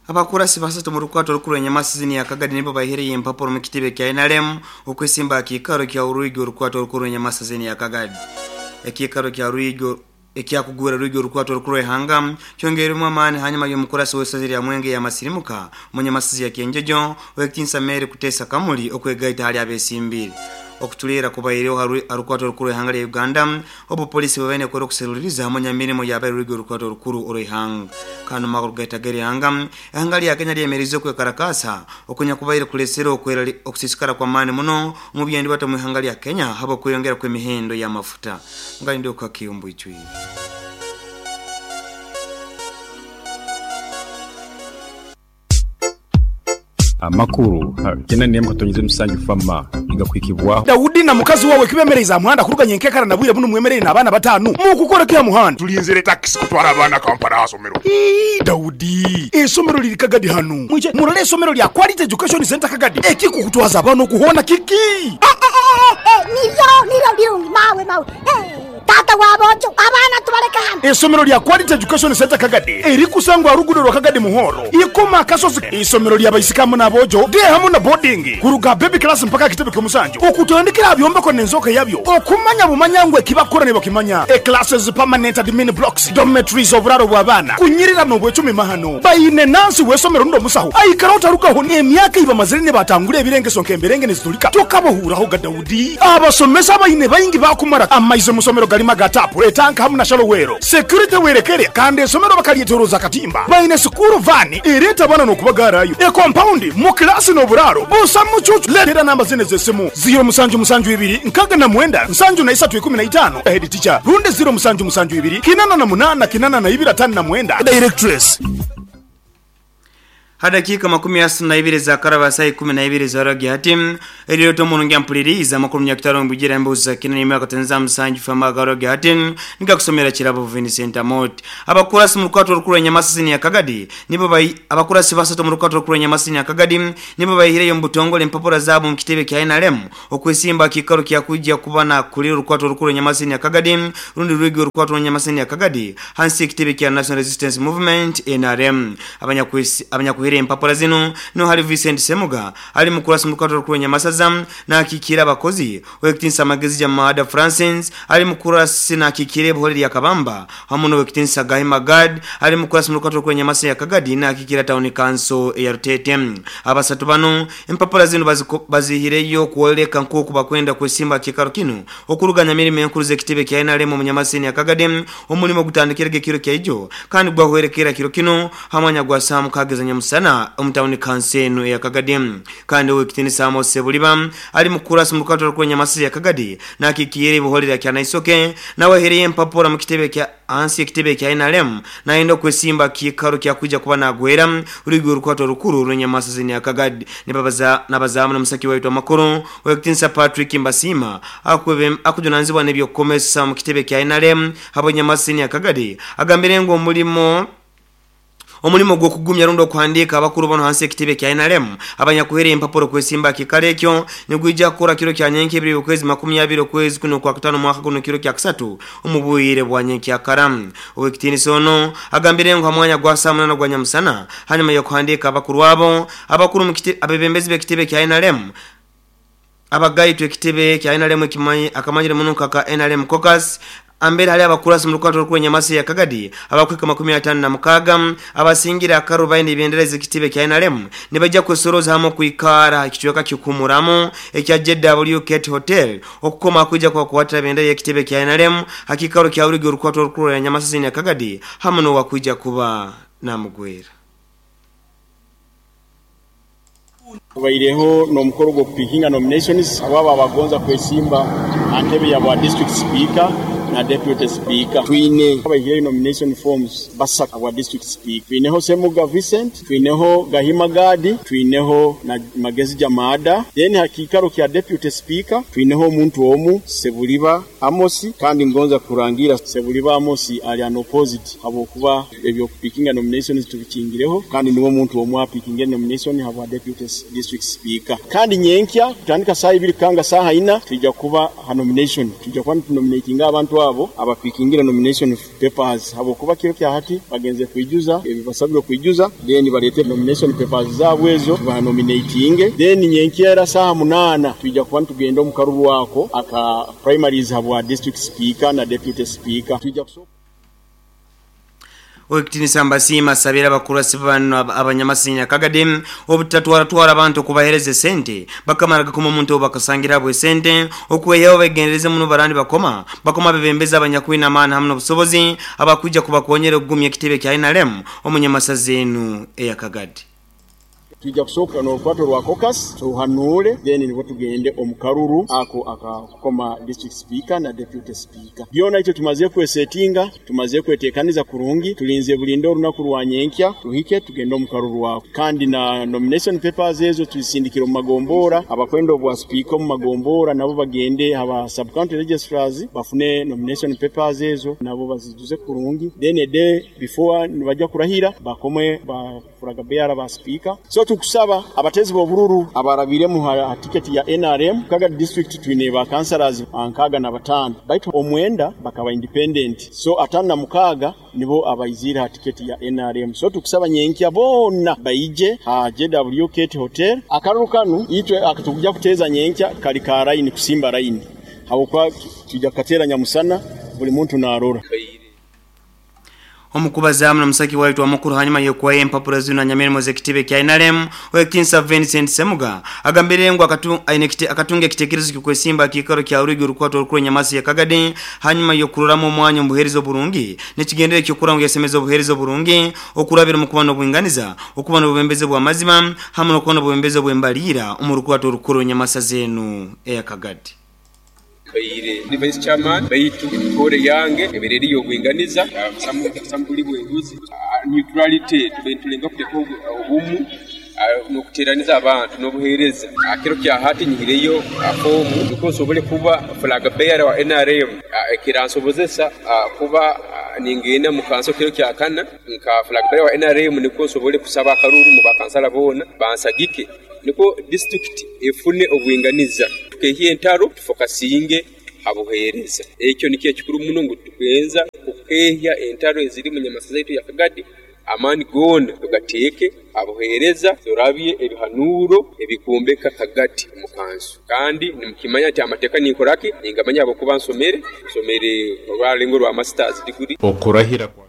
Abakurasi basatu mu rukwato rukuru enyamasizini ya Kagadi nibo bahireyo empapuro mu kitebe kya NRM okwesimba akikaro kya Uruigi orukwato rukuru enyamasizini ya Kagadi. Ekikaro kya Ruigi ekyakugura Ruigi orukwato rukuru ehanga kyongeremu amaani hanyuma y'omukurasi w'esaza lya Mwenge ya Masirimuka munyamasizi ya Kyenjojo Owekitinsa Mary Kutesa Kamuli okwegaita hali abesimbire. Okutuleera kubaireho ha rukwato rukuru ehanga lya Uganda obu polisi bwebaine ekora okuseruliriza munyamirimo yabaire Ruigi orukwato rukuru orw'eihanga. Kandi omwaka ogugaitaga erihanga, ehanga lya Kenya lyemerize okwekarakasa okunyakubaire kulesere okusiisikara kw'amaani muno omu byendibata omu ihanga lya Kenya habw'okweyongera kw'emihendo y'amafuta. Ngalinde okukakiyumbu icwire. Amakuru kyenda n'emwe katonyeza emusanju fama nigakuhikibwaho. Daudi na mukazi wawe kibemereize aha muhanda kuruga nyenkekara na bwire bunu mwemereire n'abaana bataanu. Mukukora ki aha muhanda? Tulinzire takisi kutwara abaana Kampala aha somero. Ii, Daudi, eisomero liri Kagadi hanu. Mwije murole eisomero lya Quality Education Centre Kagadi. Ekikukutwaza abaana okuhoona kiki? Niryo, niryo birungi mawe, mawe. Taata wa boojo, abaana tubaleke hano. Eisomero lya Quality Education Centre Kagadi erikusangwa aha luguudo lwa Kagadi Muhoro, Ikoma Akasozi. Eisomero lya baisiki hamu n'aboojo, day hamu na boarding, kuruga aha baby class mpaka aha kitebe ky'omusanju, okutandikira aha byombeko n'enzooka yabyo, okumanya bumanya ngu ekibakukora nibakimanya. E Classes, permanent admin blocks, dormitories, oburaaro bw'abaana, kunyirira n'obwecumi mahano. Baine nansi w'eisomero rundi omusaho aikara otarugaho n'emyaka ei bamazire nibatangura ebirengeso nk'emberenge nizitulika tokabahuuraho ga Daudi. Abasomesa abaine baingi baakumara amaizi omu somero garimu aga taapu, etanka hamu na shallow well. Security werekere kandi esomero bakaryetoroza akatimba. Baine sukuuru vaani ereeta abaana n'okubagaarayo. Ekompaundi mu kilaasi n'oburaaro busa mucuucu. Leetera namba zinu ez'esimu, ziiro musanju musanju ibiri nkaaga na mwenda nsanju na isatu ikumi na itaano, Head teacher, rundi ziiro musanju musanju ibiri kinana na munaana kinana na ibiri ataano na mwenda, Directress. Ha dakiika makumi asatu na ibiri ezaakaraba saaha ikumi na ibiri ez'orwagya hati, erireeta omurungi ampuliriize amakuru munyakitara omu emboozi za Kina n'emyaka za musanju fm aga hati nigakusomera Kirabo Vincent Amot. Abakurasi mu rukwato rukuru Nyamasisi ya Kagadi nibo bai abakurasi basatu mu rukwato rukuru Nyamasisi ya Kagadi nibo bayihireyo mu butongole empapura zaabo mu kitebe kya NRM okwesimba kikaro kya kujja kuba na kulira orukwato rukuru Nyamasisi ya Kagadi rundi rwigi orukwato Nyamasisi ya Kagadi hansi y'ekitebe kya National Resistance Movement NRM. Abanyakuhire empapura zino no hari Vincent Semuga ali mukurasi mu rukwato rukuru Nyamasaza nakikira abakozi Owekitinsa Magezi Jamada Francis ali mukurasi nakikira ebuhore lya Kabamba hamu n'Owekitinsa Gahima Gad ali mukurasi mu rukwato rukuru Nyamasa ya Kagadi nakikira Town Council ya Rutete. Abasatu bano empapura zino bazihireyo kuoleka nkoku bakwenda kwesimba kikaro kino okuruganya mirimo enkuru z'ekitebe kya NRM mu Nyamasini ya Kagadi omulimo gutandikirege kiro kya ijo kandi gwahwerekera kiro kino hamanya gwa saa mukaaga za nyamusana omu Town Council eno ya Kagadi. Kandi Owekitinisa Amos Sebuliba ali mukurasi mu rukwato rukuru Nyamasisi ya Kagadi nakikira ebuhorera kya Naisoke nawe ahereye empapura mu kitebe kya hansi y'ekitebe kya NRM nayenda kwesimba kikaro kya kuja kuba nagwera urigi urukwato rukuru rw'Nyamasisi ya Kagadi. Nibabaza nabazamu n'omusaki waitu amakuru Owekitinisa Patrick Mbasima akujunanizibwa n'ebyokukomesa mu kitebe kya NRM habo Nyamasisi ya Kagadi agambire ngu omulimo gw'okugumya rundi okuhandiika abakuru bano hansi y'ekitebe kya NRM abanyakuhera empapuro kwesimba kikaro ekyo nigwija kukora kiro kya nyenke ebiri okwezi makumi abiri okwezi kuno kwa kutano mwaka guno kiro kya kusatu omu bwire bwa nyenkyakara. Owekitinisa ono agambire ngu ha mwanya gwa saa munana gwa nyamusana hanyuma y'okuhandiika abakuru abo abakuru mu abebembezi b'ekitebe kya NRM abagaitwe ekitebe kya NRM akamanyire muno kaka NRM caucus ambere hali abakurasi mu rukwato rukuru Nyamasi ya Kagadi abakwika makumi atano na mukaga abasingira akarubaini ebendera z'ekitebe kya NRM nibajja kwesoroza hamwe kwikara ekicweka kikumuramu ekya JW Kate Hotel okukoma kuja kwa kuwatira bendera y'ekitebe kya NRM hakikaro kya urigi urukwato rukuru ya Nyamasi ya Kagadi hamwe no wakuja kuba namugwera. Tubaireho n'omukoro gw'okupikinga nominations abo abagonza kwesimba aha ntebe ya bwa district speaker na deputy speaker. Twine abaihire nomination forms basatu abwa district speaker. Twineho Semuga Vincent, twineho Gahima Gadi, twineho na Magezi Jamada. Then hakikaro kya deputy speaker twineho omuntu omu Sebuliba Amosi, kandi ngonza kurangira Sebuliba Amosi ali an opposite habwokuba ebyokupikinga nominations tubikingireho, kandi niwo omuntu omu apikinga nomination habwa deputy district speaker. Kandi nyenkya kutandika saa ibiri kanga saa ina tujja kuba ha nomination, tujja kuba nominatinga abantu abantu abo abapikingire nomination papers habwokuba kiro kya hati bagenze kwijuza ebibasabwe kwijuza, then balete nomination papers zaabwe ezo banominatinge, then nyenkyera saha 8 twijja kuba tugenda omu karuru ako aka primaries habwa district speaker na deputy speaker. Twijja Owekitinisa Mbasiima asabira abakurasi bano abanyamasinya Kagadi obutatwaratwara abantu okubahereza esente bakamara gakoma omuntu bakasangira bwe sente okweyaho begendereze muno barandi bakoma bakoma bebembeza abanyakwina amaani hamwe n'obusobozi abakujja kubakonyera okugumya ekitebe kya NRM omunyamasazi enu eya Kagadi. Tujja kusooka n'olukwato rwa caucus tuhanuule, then nibwo tugende omu karuru ako akakoma district speaker na deputy speaker. Byona ekyo tumaze kwesetinga, tumaze kwetekaniza kurungi, tulinze bulinde olunaku rwa nyenkya tuhike tugende omu karuru ako. Kandi na nomination papers ezo tuzisindikira omu magombora, abakwenda obwa speaker omu magombora nabo bagende aba sub county registrars bafune nomination papers ezo nabo bazijuze kurungi, then a day before nibajja kurahira bakome ba flag bearer ba speaker. So tukusaba abatezi b'obururu abarabiremu ha tiketi ya NRM Kagadi district twine ba councillors 65, baitu omwenda bakaba independent, so 56 nibo abaizira ha tiketi ya NRM. So tukusaba nyenkya bona baije ha JWK Hotel. Akaruru kanu itwe akatukuja kuteza nyenkya kali ka line kusimba line habwokuba tujja kukatera nyamusana buli muntu narora. Omukubazamu na musaki waitu wa mukuru hanyuma yokuwaye empapura zino nyamirimo z'ekitebe kya NRM Owekitinisa Vincent Semuga agambire ngu akatunga ekitekerezo ky'okwesimba kiikaro kya Rwigi orukwato orukuru Nyamasi ya Kagadi hanyuma yokuroramu omwanya omubuheereza oburungi n'ekigendere ky'okura ngu yasemeza obuheereza oburungi okurabira omu kuba n'obwinganiza, okuba n'obubembezi bw'amazima hamwe n'okuba n'obubembezi obw'embaliira omu rukwato orukuru Nyamasa zenu eya Kagadi. Baire ndi vice chairman baitu emikore yange ebere eri y'obwinganiza, busamu buli bw'enguzi, neutrality, tube tulenga kuteka obumu n'okuteraniza abantu n'obuheereza. Kiro kya hati nyihireyo fomu nukwo nsobole kuba flag bearer wa NRM, ekiransobozesa kuba ningenda mu kanso kiro kya kana nka flag bearer wa NRM, nukwo nsobole kusaba akaruru mu bakansala boona bansagike, nukwo district efune obwinganiza, tukehye entaro tufokasinge habuheereza. Ekyo nikyo ekikuru muno ngu tukugenza kukehya entaro eziri mu Nyamasa zaitu ya Kagadi, amaani goona tugateeke abuheereza, turabye ebihanuuro ebikumbeka Kagadi omu kanso. Kandi nimukimanya nti amateeka ninkoraki ningamanya habwokuba nsomere orwarengo rwa masters degree. Okurahira kwa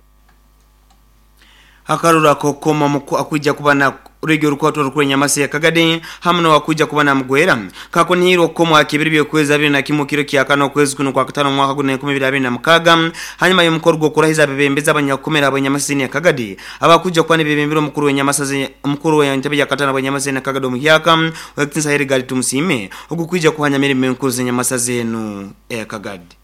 Akaruru akokoma akwijja kuba na Rwigi orukwato orukuru Nyamasi ya Kagadi hamwe n'owakwija kuba na mugwera kakunihirwa okukomwa kibiri by'okwezi 21 kiro kya kano okwezi kuno kwa katano mwaka guno 2026 hanyuma y'omukoro gw'okurahiza abebembezi abanyakukomera ab'Nyamasi ya Kagadi abakujja kuba n'ebebembera omukuru w'Nyamasi omukuru w'entebe ya katano ab'Nyamasi ya Kagadi omuhyaka Owekitinisa Herigali Tumusiime ogukwija kuhanya mirimo enkuru z'Nyamasa zenu eya Kagadi.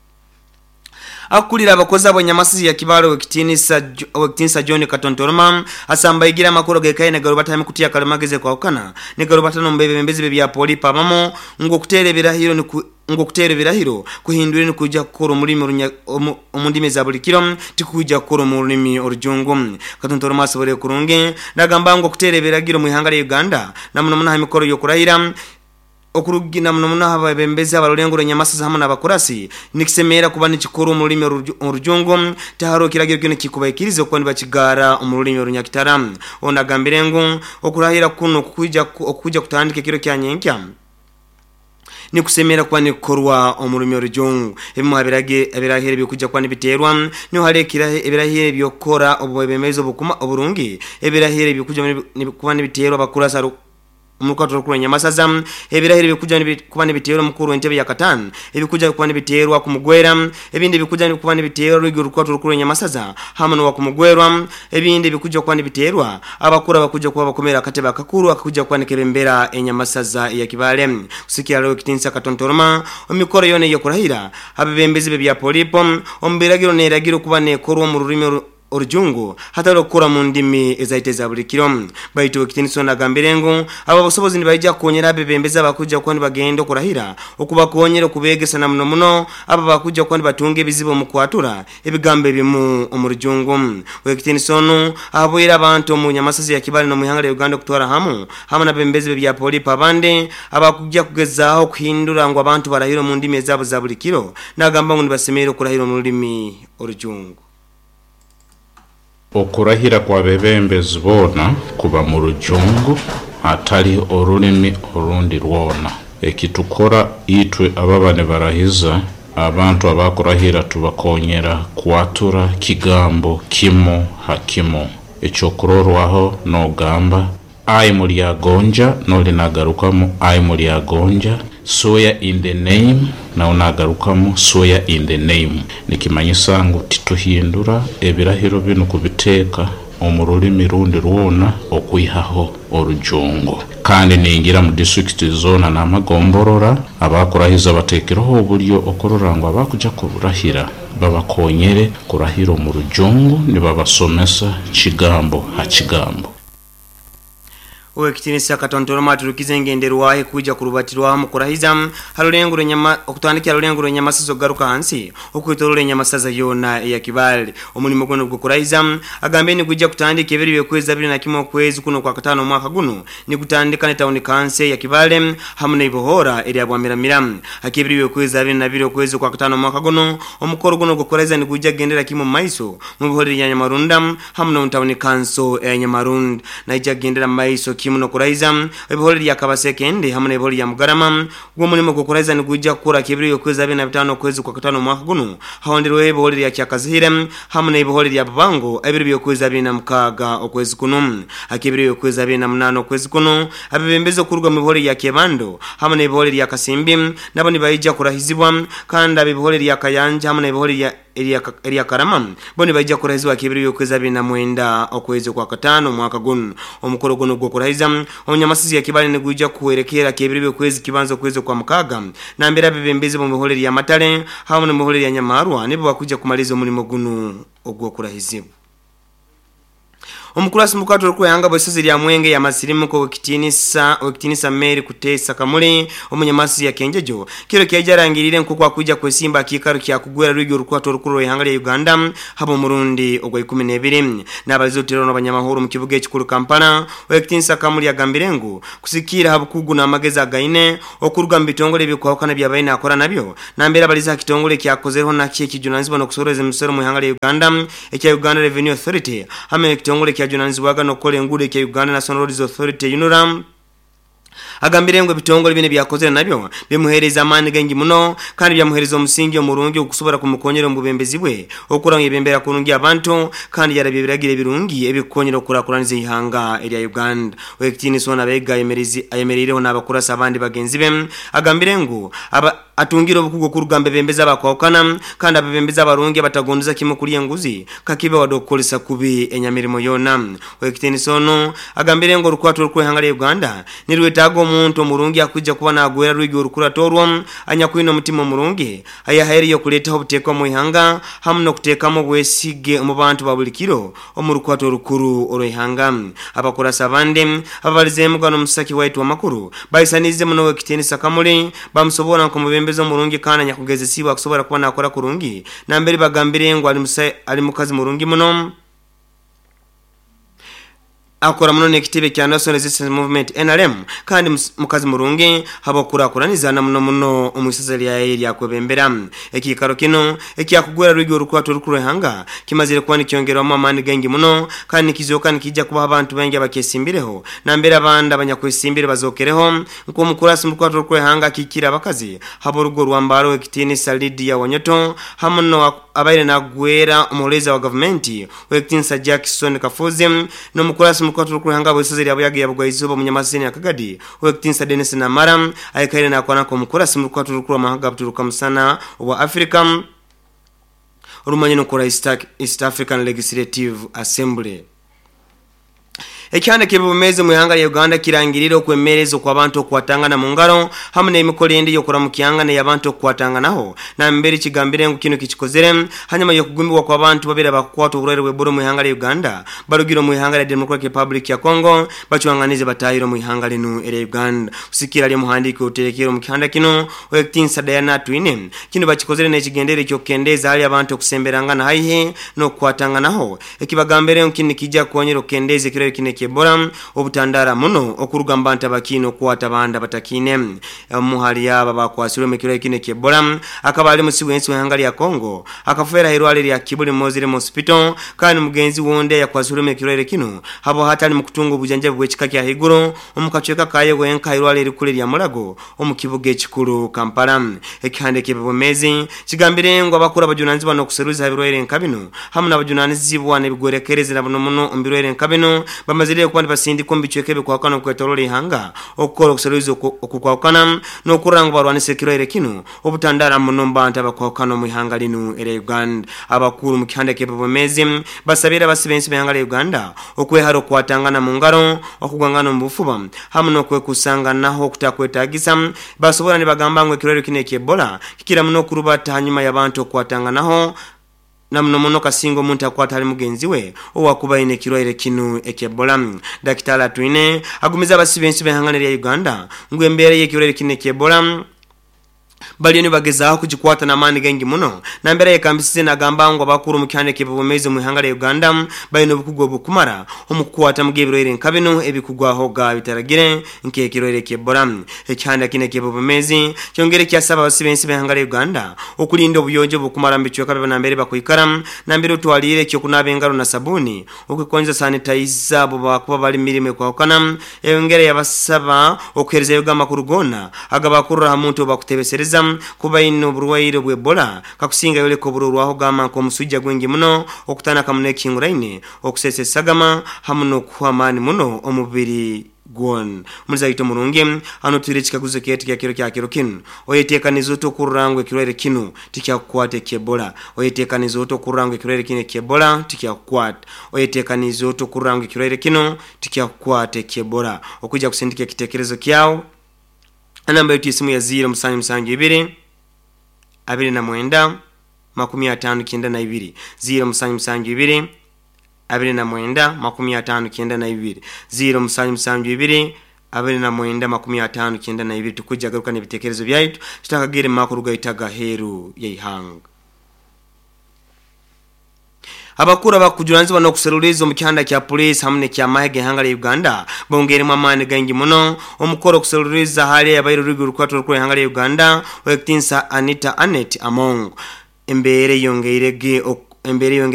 Akulira abakozi ab'Nyamasi ya Kibale Owekitinisa John Katontoroma asambaigira amakuru gekaye negarubatami kutiya kalimageze kwawukana negarubatano mbebembezi bya polipa abamo ngo okutera ebirahiro ngo okutera ebirahiro kuhindura nikuja kukora omulimi omu ndimi za buli kiro tikuja kukora omu rulimi orujungu. Katontoroma asobole kurungi nagamba ngo okutera ebiragiro mu ihanga lya Uganda namuno muno ha mikoro y'okurahira okurugina muno muno abebembezi abarulengo Nyamasa hamwe n'abakurasi nikisemera kuba nikikora omu rulimi orujungu taharo kiragiro kino kikubaikiriza okuba nibakigara omu rulimi orunyakitara. Onagambire ngu okurahira kuno okukuja kutandika ekiro kya nyenkya nikusemera kuba nikukorwa omu rulimi orujungu. Ebimu ebirahiro ebikuja kuba nibiterwa niho hari ebirahiro ebyokukora obubembezi obukuma oburungi, ebirahiro ebikuja kuba nibiterwa abakurasi omukato rukuru Nyamasaza, ebirahiro ebikuja kuba nibiterwa omukuru w'entebe ya katano, ebikuja kuba nibiterwa kumugwera, ebindi ebikuja kuba nibiterwa Rwigi orukwato rukuru Nyamasaza hamwe n'owakumugwerwa, ebindi ebikuja kuba nibiterwa abakuru abakuja kuba bakomera akatebe akakuru akakuja kuba nikebembera Enyamasaza ya Kibale. Kusikia leo Kitinisa Katontoroma omikoro yone y'okurahira abebembezi bya polipo omu biragiro n'eragiro kuba nekorwa mu rulimi Orujungu hatari okukora mu ndimi ezaita eza buli kiro. Baitu Owekitinisa ono agambire ngu abo abasobozi nibaija kukonyera abebembezi abakuja kuba nibagenda okurahira okubakonyera okubeegesa na muno muno abo abakuja kuba nibatunga ebizibu omu kwatura ebigambo ebimu omu Rujungu. Owekitinisa onu ahabwire abantu omu Nyamasazi ya Kibale n'omu ihanga lya Uganda okutwara hamu hamu n'abebembezi b'ebya polipo abandi abakujja kugezaaho okuhindura ngu abantu barahire omu ndimi ezaabo za buli kiro, nagamba ngu nibasemerra okurahira omu rulimi Orujungu. Okurahira kw'abebembezi boona kuba mu Rujungu hatali orulimi orundi rwona. Ekitukora itwe ababa nibarahiza, abantu abakurahira tubakonyera kwatura kigambo kimu ha kimu. Ekyokurorwaho nogamba, I Mulyagonja, noli nagarukamu I Mulyagonja, swear in the name, nawe nagarukamu swear in the name. Nikimanyisa ngu tituhindura ebirahiro binu kubiteeka omu rulimi rundi rwona okwihaho Orujungu. Kandi ningira mu disitulikiti zoona n'amagomborora, abakurahiza bateekereho obulyo okurora ngu abakuja kurahira babakonyere kurahira omu Rujungu nibabasomesa kigambo ha kigambo. Owekitinisa Katontoromo aturukize engenderwaho ekuija kurubatirwaho omu kurahiza ha rulengo rw'enyama okutandikira ha rulengo rw'enyamasaza okugaruka hansi okwetoroora enyamasaza yoona eya Kibaale. Omulimo gunu ogw'okurahiza agambire nigwija kutandika ebiro by'okwezi 21 okwezi kunu okwakataano omwaka gunu nigutandika ne tawuni kanso eya Kibaale hamu n'eibohoora erya Bwamiramira. Hak'ebiro by'okwezi 22 okwezi okwakataano omwaka gunu, omukoro gunu ogw'okurahiza nigwija kugendera kimu omu maiso mu bihorero erya Nyamarunda hamu n'omu tawuni kanso eya Nyamarund. Naija kugendera mu maiso kimu n'okuraiza ebihorero erya Kabasekende hamu n'ebihorero erya Mugarama. Gwo omulimo gw'okuraiza nigwija kukora k'ebiro by'okwezi 25 okwezi okwakataano omwaka gunu, hahonderweho ebihorero erya Kyakazihire hamu n'ebihorero erya Bubango ebiro by'okwezi 26 okwezi kunu. Hak'ebiro by'okwezi 28 okwezi kunu, abebembezi okuruga mu bihorero erya Kyebando hamu n'ebihorero erya Kasimbi nabo nibaija kurahizibwa, kandi ab'ebihorero erya Kayanja hamu n'ebihorero erya Erya Karama bo nibaija kurahizibwa ak'ebiro by'okwezi 29 okwezi okwakataano omwaka gunu. Omukoro gunu ogw'okurahiza omunyamasizi ya Kibale nigwija kuhwerekerra ak'ebiro by'okwezi kibanza okwezi okwamukaaga nambere abebembezi b'omu bihoro erya Matale hamu n'omu bihoro erya Nyamarwa nibo bakwija kumaliza omulimo gunu ogw'okurahizibwa. Omukurasi mukato orikwehanga bw'eisozi rya Mwenge ya Masirimuka Owekitinisa Owekitinisa Mary Kuteesa Kamuli omunyamasi ya Kenjejo kiro kyaija arangiriire nk'oku akwija kwesimba aha kiikaro kya kugwera rwigi orukwato orukuru rw'eihanga rya Uganda haba omurundi ogwa 12. Nabaliza oruteerano n'abanyamahoro omu kibuga ekikuru Kampala, Owekitinisa Kamuli agambire ngu kusigikiira aha bukugu n'amagezi againe okuruga omu bitongore ebikwahukana ebyabaire nakora nabyo nambere abalize aha kitongore ekyakozereho nakyo ekijunanizibwa n'okusorooza emisoro omu ihanga rya Uganda ekya Uganda Revenue Authority hamwe n'ekitongore ekyajunanizibwaga n'okukora enguudo ekya Uganda National Roads Authority, UNRA. Agambire ngu ebitongore binu ebyakozere nabyo bimuheereza amaani gaingi muno kandi byamuheereza omusingi omurungi ogukusobora kumukonyera omu bwebembezi bwe okukora ngu yebembera kurungi abantu kandi yarabya ebiragiro ebirungi ebikukonyera okukurakuraniza eihanga erya Uganda. Owekitiinisa onu Abega ayemereireho n'abakurasi abandi bagenzi be agambire ngu aba Atungire obukugu okuruga omu bebembezi abakwahukana kandi abebembezi abarungi abatagondiza kimu kulya enguzi kakibe wadde okukozesa kubi enyamirimo yoona. Owekitiinisa onu agambire ngu orukwato orw'eihanga lya Uganda nirwetaaga omuntu omurungi akwija kuba nagwera rwigi orukurato orwo anyakwine omutima omurungi ayahaireyo okuleetaho obuteeka omu ihanga hamu n'okuteekamu obwesige omu bantu ba buli kiro omu rukwato orukuru orw'eihanga. Abakurasi abandi ababalizeemuga n'omusaki waitu w'amakuru baisaniize muno Owekitiinisa Kamuli bamusoboora nk'omubembezi omurungi kandi anyakugezesiibwe akusobora kuba nakora kurungi nambere bagambire ngu ali mukazi murungi muno. Akora muno n'ekitebe kya National Resistance Movement, nrm, kandi mukazi murungi habw'okukurakuraniza na muno muno omu isaza lyaye eryakwebembera. Ekiikaro kinu ekyakugwera rwigi orukwato orukuru rw'ihanga kimazire kuba nikyongerwamu amaani gaingi muno kandi nikizooka nikiija kubaho abantu baingi abakyesimbireho nambere abandi abanyakwesimbire bazookereho nk'omukurasi omu rukwato orukuru rw'ihanga akiikire abakazi hab'orugo rwa Mbale Owekitiinisa Lydia Wanyoto hamu no abaire nagwera omuhuliiriza wa gavumenti Owekitiinisa Jackson Kafuuzi n'omukurasi omu rukwato orukuru rw'ihanga bw'isozi rya Buyaga eya Bugwaizooba Omunyamasisi Nyakagadi Owekitiinisa Denis Namara aikaire nakora nk'omukurasi omu rukwato orukuru rw'amahanga ga Buturuka Musana obwa Africa orumanyire nk'orwa East African Legislative Assembly. Ekyanda ky'ebumezi mu ihanga lya Uganda kirangirira okwemereza okw'abantu okwatangana mu ngaro hamu n'emikolo endi y'okuramukyanga n'ey'abantu okukwatanganaho nambere kigambire ngu kino kikikozere hanyuma y'okugumbibwa kw'abantu babiri abakukwata oburwaire bw'Ebola mu ihanga lya Uganda barugire mu ihanga lya Democratic Republic ya Congo bacwanganize batahire mu ihanga linu erya Uganda. Kusikira ali omuhandiiki oterekere omu kihanda kino Owekitinsa Diana Atwine kino bakikozere n'ekigendere ky'okukendeza hali abantu okusemberangana haihi n'okukwatanganaho ekibagambire ngu kinu nikijja kukonyera okukendeza ekirwaire kinu eky'Ebola obutandara muno okuruga mu bantu abakiine okukwata abandi abatakiine. Omu hali abo abakwasirwemu ekirwaire kinu eky'Ebola akaba ali musi w'ensi w'ihanga lya Congo akafeera ha irwaliro lya Kibuli Muslim Hospital kandi mugenzi wundi ayakwasirwemu ekirwaire kinu habo hati ali mu kutunga obujanjabi bw'ekika kya haiguru omu kacweka kaye wenka ha irwaliro erikuru erya Mulago omu kibuga ekikuru Kampala. Ekihanda eky'ebyobwomeezi kigambire ngu abakuru abajunanizibwa n'okuseruliza ha birwaire nka binu hamu n'abajunanizibwa n'ebigwerekerezi na buno muno omu birwaire nka binu bamazire kuba nibasindikwa omu bicweka ebikwahukana okwetoroora ihanga okukora okuseruliza okukwahukana n'okurora ngu barwanisa ekirwaire kinu obutandara muno omu bantu abakwahukana omu ihanga linu erya Uganda. Abakuru mu kihanda eky'ebyobwomeezi basabire abasi b'ensi b'ihanga lya Uganda okwehara okukwatangana mu ngaro, okugwangana omu bufuba hamu n'okwekusanganaho okutakwetagisa basobora nibagamba ngu ekirwaire kinu eky'Ebola kikira muno okurubata hanyuma y'abantu okukwatanganaho na muno muno kasinga omuntu akwata hali mugenzi we owakuba aine ekirwaire kinu eky'Ebola. Dakitali Atwine agumiza abasi b'ensi b'ihanga erya Uganda ngu embeera y'ekirwaire kinu eky'Ebola baliyo nibagezaho kugikwata n'amaani gaingi muno nambere ayekambisize nagamba ngu abakuru omu kihanda eky'ebyobwomeezi omu ihanga lya Uganda balina obukugu obukumara omu kukwatamu ebirwaire nka binu ebikugwahoga bitaragire nk'ekirwaire ky'Ebola. Ekihanda kinu eky'ebyobwomeezi kyongere kyasaba abasi b'ensi b'ihanga lya Uganda okulinda obuyonjo obukumara mu bicweka byabo nambere bakwikara nambere otwalire ekyokunaaba engaro na sabuni okukonza sanitizer abo bakuba bali mirimu ekwahukana eyongera yabasaba okuherezayo amakuru goona agabakurura ha muntu obakutebesereza kuba aine oburwaire bw'Ebola kakusinga yoleka oburorwaho gamba nk'omusujja gwingi muno okutanaka muno ekihinguraine okusesa esagama hamu n'okuhwa amaani muno omubiri gwona. Omuliza waitu omurungi hano twire ekikaguzo kyaitu kya kiro kya kiro kinu oyetekaniza ota okurora ngu ekirwaire kinu tikyakukwata eky'Ebola? Oyetekaniza ota okurora ngu ekirwaire kinu eky'Ebola tikyakukwata? Oyetekaniza ota okurora ngu ekirwaire kinu tikyakukwata eky'Ebola? Okwijja kusindika ekitekerezo kyawe enamba yaitu y'esimu ya 0772 29 59 0772 29 59 0772 29 59 tukujja garuka n'ebitekerezo byaitu tutakagere mu makuru gaitu agaheeru y'eihanga. Abakuru abakujuranizibwa n'okuseruliza omu kihanda kya poliisi hamu n'ekyamahe g'ihanga lya Uganda bongeiremu amaani gaingi muno omukoro okuseruliza hali abaire oruigi orukwata orukuru ihanga lya Uganda Owekitinsa Anita Annet Among. Embeera eyongeirege embeera eyongeire.